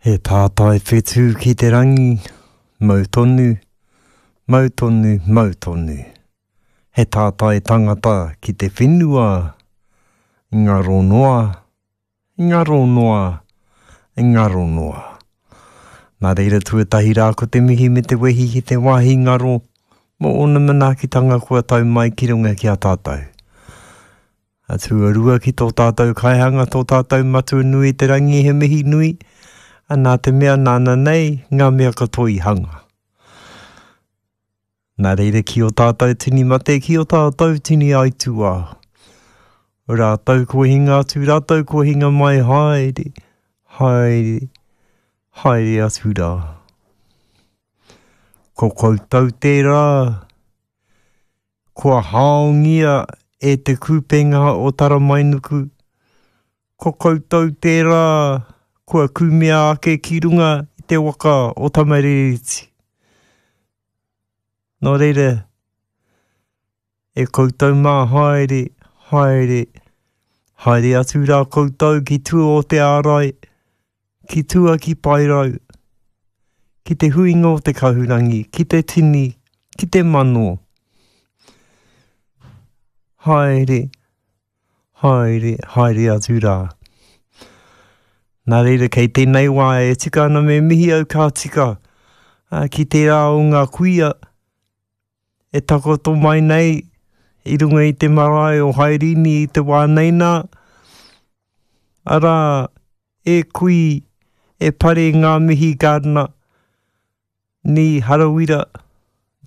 He tātai whetū ki te rangi, mau tonu, mau tonu, mau tonu. He tātai tangata ki te whenua, ngaro noa, ngaro noa, ngaro noa. Nā reira tuatahi rā ko te mihi me te wehi ki te wāhi ngaro mō ōna manaakitanga kua tau mai ki runga ki a tātou. A tuarua ki tō tātou kaihanga, tō tātou Matua nui i te rangi he mihi nui, a nā te mea nāna nei ngā mea katoa i hanga. Nā reira ki ō tātou tini mate, ki ō tātou tini aituā. Rātou kua hinga atu, rātou kua hinga mai, haere, haere, haere atu rā. Ko koutou tērā, Kua haongia e te kupenga o Taramainuku, ko koutou tērā kua kumea ake ki runga i te waka o Tamarereti. Nō reira, e koutou mā haere, haere, haere atu rā koutou ki tua o te ārai, ki tua ki Paerau, ki te huinga o te kahurangi, ki te tini, ki te mano. Haere, haere, haere atu rā. Nā reira, kei tēnei wā e tika ana me mihi au ka tika ki tērā o ngā kuia e takoto mai nei i runga i te marae o Hairini i te wā nei nā, arā, e kui, e pare ngā mihi Gardiner, ni Harawira,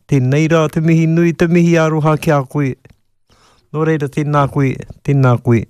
tēnei rā te mihi nui, te mihi aroha ki a koe. Nō reira, tēnā koe, tēnā koe.